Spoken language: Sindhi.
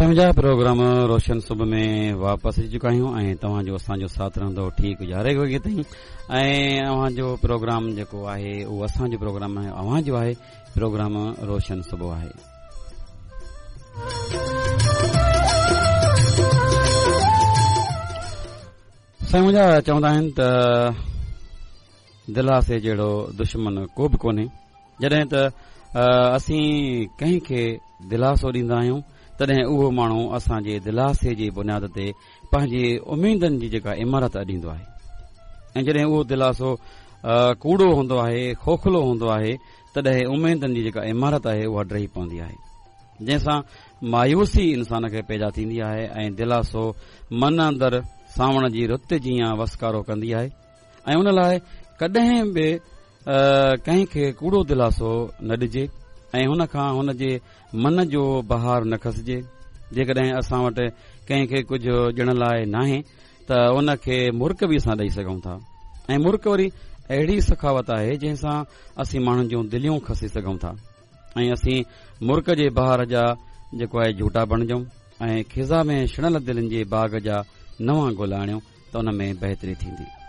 سائين منهنجا پروگرام روشن صبح ۾ واپس اچي چڪا آهيون ۽ توهان جو اسان جو ساٿ رهندو ٺيڪ يارهين وڳي تائين ۽ اوهان جو پروگرام جيڪو آهي اهو اسان جو پروگرام آهي اوهان جو آهي پروگرام روشن صبح آهي. سائين منهنجا چوندا آهن ته دلاسي جهڙو دشمن ڪو به ڪونهي. جڏهن ته اسين ڪنهن کي دلاسو ڏيندا آهيون تڏهن اهو ماڻهو اسان جي دلاسي جي بنياد تي پنهنجي اميدن جي جيڪا عمارت اڏيندو آهي ۽ جڏهن اهو دلاسو ڪوڙو هوندو آهي کوکلو هوندو آهي تڏهن اميدن جي جيڪا عمارت آهي اها ڊهي پوندي آهي جنهن سان مايوسي انسان کي پيدا ٿيندي آهي ۽ دلاسو من اندر سانوڻ جي رت جيان وسڪارو ڪندي آهي ۽ ان لاء ڪڏهن به ڪنهن کي ڪوڙو دلاسو نه ڏجي ۽ هن کان هن جي من جو بهار نه کسجي. جيڪڏهن اسان وٽ ڪنهن کي ڪجهه ڏيڻ لاء ناهي ته ان کي مرڪ به اسان ڏئي سگهون ٿا ۽ مرڪ وري اهڙي سخاوت آهي جنهن سان اسين ماڻهن جون دليون کسي سگهون ٿا ۽ اسين مرڪ جي بهار جا جيڪو آهي جهوٽا بڻجون ۽ خزان ۾ ۾ ڇڻل دلين جي باغ جا نوان گل آڻيون ته ان ۾ بهتري ٿيندي.